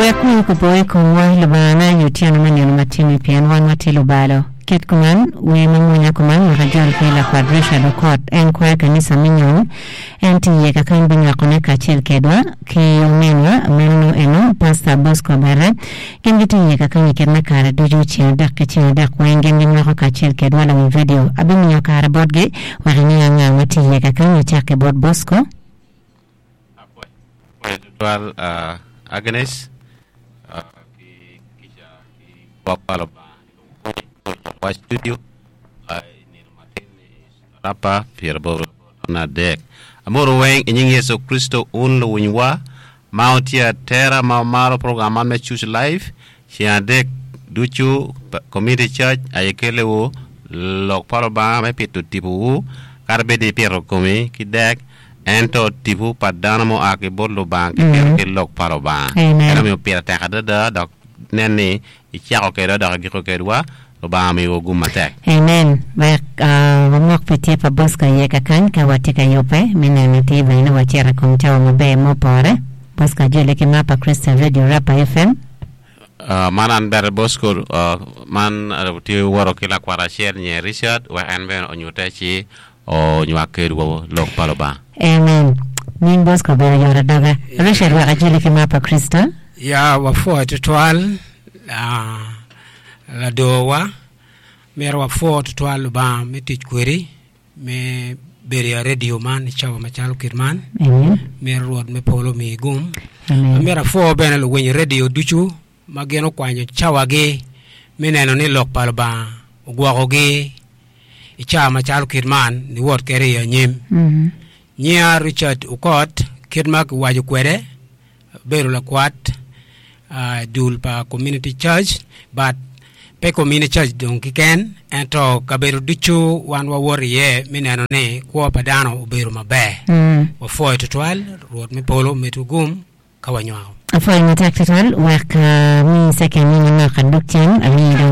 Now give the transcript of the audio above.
Wek wi opo i komwa, Lubangana, i otyeno me nino matini, pien wan watye lubalo. Kit kuman, wer ma mwonya kuman wek ajol ki lakwat Richard Okot, en kwayo kanisa me nyom, en tye iye kakany binywakone kacel kedwa ki ominwa meno nongo eno Pastor Bosco Abere. Gin gitye iye kakany i kit me kare ducu ceng adek ki ceng adek weng gin ginywako kacel kedwa lawiny radio. Abimiyo kare botgi wek inge anga ma tye iye kakany acak ki bot Bosco. Apwoyo tutwal Agnes ki kica ki gwok pa Lubanga i kom kwo wa studio i nino matin ni rapa pyeraboro taun adek. Amoro weng i nying Yecu Kricito un luwinywa ma wutye atera ma wumaro program man me Choose Life ceng adek ducu Community Church aye keliwu lok pa Lubanga me pito tipowu kadi bed ni ipito komi ki dek Ento tipo pa dano mua ki bot Lubanga kipito ki lok pa Lubanga. En omiyo pire tek adada dok nen ni icako kedwa dok igiko kedwa, Lubanga omiyowa gum matek. Amen. Wek wamok pi tye pa Bosco iye kakany ka watye ka yubbe me neno atir bene ni wacito i kom cawa maber ma opore. Bosco ajoli ki mar pa Christian Radio Rapa FM. Man an bene Bosco man tye woto ki lakwat acel nyer Richard wek en bene onyute ci onywak kedwa lok pa Lubanga. Amen. Nying Bosco obedo yot adoga. Richard wek ajoli ki mar pa Kricito. Ya wapwoyo tutwal ladorwa, myero wapwo tutwal Lubanga me tic kwedi me bedo i radio man i cawa macalo kit man. Myero Rwot me polo omiyi gum. Myero apwo bene luwiny radio ducu ma gin okwanyo cawagi me neno ni lok pa Lubanga ogwokogi i cawa macalo kit man niwot kwede i anyim. Nyinga Richard Okot kit ma kiwaco kwede abedo lakwat i dul pa Community Church but pe Community Church dong keken ento kabedo ducu wan wawoto iye me neno ni kwo pa dano obedo maber. Wapwoyo tutwal Rwot me polo omedwu gum ka wanywako. Apwoyo matek tutwal wek ami second ni manok adug cen ami dong.